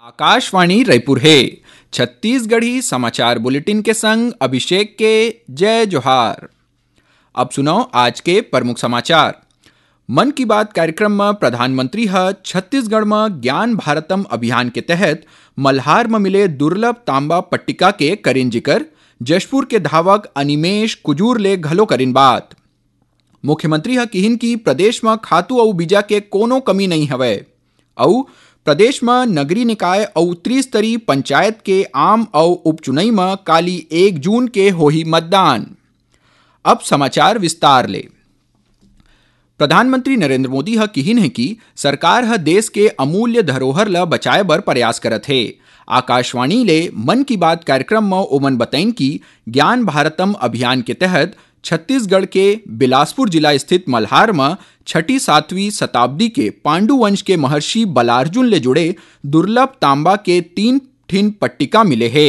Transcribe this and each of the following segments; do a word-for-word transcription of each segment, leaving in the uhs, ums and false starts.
आकाशवाणी रायपुर हे। छत्तीसगढ़ी समाचार बुलेटिन के संग अभिषेक के जय जोहार। अब सुनव आज के प्रमुख समाचार। मन की बात कार्यक्रम म प्रधानमंत्री ह छत्तीसगढ़ म ज्ञान भारतम अभियान के तहत मल्हार म मिले दुर्लभ तांबा पट्टिका के करिन जिकर, जशपुर के धावक अनिमेश कुजूर ले घलो करिन बात। मुख्यमंत्री ह किहिन कि प्रदेश म खातू अउ बीजा के कोनो कमी नइ हवय अउ प्रदेश म नगरीय निकाय अउ त्रिस्तरीय पंचायत के आम अउ उपचुनई म काली एक जून के होही मतदान। अब समाचार विस्तार ले। प्रधानमंत्री नरेंद्र मोदी ह किहिन हे कि सरकार ह देश के अमूल्य धरोहर ल बचाए बर प्रयास करत हे। आकाशवाणी ले मन की बात कार्यक्रम म ओमन बतइन कि ज्ञान भारतम अभियान के तहत छत्तीसगढ़ के बिलासपुर जिला स्थित मल्हार म छठी सातवीं शताब्दी के पांडु वंश के महर्षि बलार्जुन ले जुड़े दुर्लभ तांबा के तीन ठिन पट्टिका मिले हे।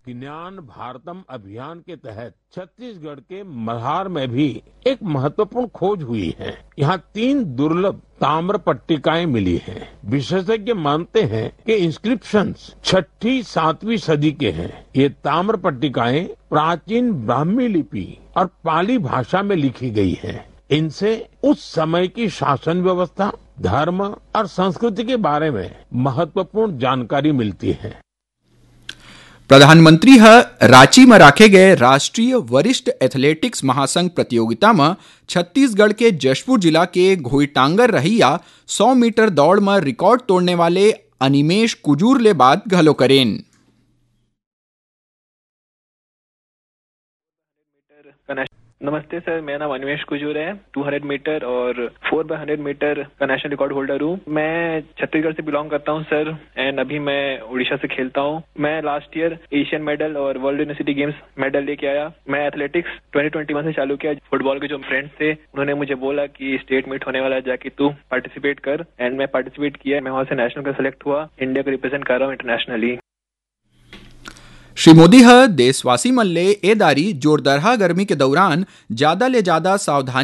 ज्ञान भारतम अभियान के तहत छत्तीसगढ़ के मल्हार में भी एक महत्वपूर्ण खोज हुई है। यहाँ तीन दुर्लभ ताम्र पट्टिकाएं मिली हैं। विशेषज्ञ मानते हैं कि इंस्क्रिप्शंस छठी सातवीं सदी के हैं। ये ताम्र पट्टिकाएं प्राचीन ब्राह्मी लिपि और पाली भाषा में लिखी गई हैं। इनसे उस समय की शासन व्यवस्था, धर्म और संस्कृति के बारे में महत्वपूर्ण जानकारी मिलती है। प्रधानमंत्री ह रांची म राखे गए राष्ट्रीय वरिष्ठ एथलेटिक्स महासंघ प्रतियोगिता म छत्तीसगढ़ के जशपुर जिला के घोईटांगर रहइया सौ मीटर दौड़ म रिकॉर्ड तोड़ने वाले अनिमेश कुजूर ले बात घलो करेन। नमस्ते सर, मेरा नाम अनिमेश कुजूर है। टू हंड्रेड मीटर और फोर बाय हंड्रेड मीटर का नेशनल रिकॉर्ड होल्डर हूँ। मैं छत्तीसगढ़ से बिलोंग करता हूँ सर, एंड अभी मैं उड़ीसा से खेलता हूँ। मैं लास्ट ईयर एशियन मेडल और वर्ल्ड यूनिवर्सिटी गेम्स मेडल लेके आया। मैं एथलेटिक्स ट्वेंटी ट्वेंटी वन से चालू किया। फुटबॉल के जो फ्रेंड्स थे, उन्होंने मुझे बोला कि स्टेट मीट होने वाला है, जाके तू पार्टिसिपेट कर, एंड मैं पार्टिसिपेट किया। मैं वहाँ से नेशनल का सिलेक्ट हुआ, इंडिया को रिप्रेजेंट कर रहा हूँ इंटरनेशनली। श्री मोदी ह देशवासी मन ले ए दारी जोरदरहा गर्मी के दौरान जादा ले जादा सावधानी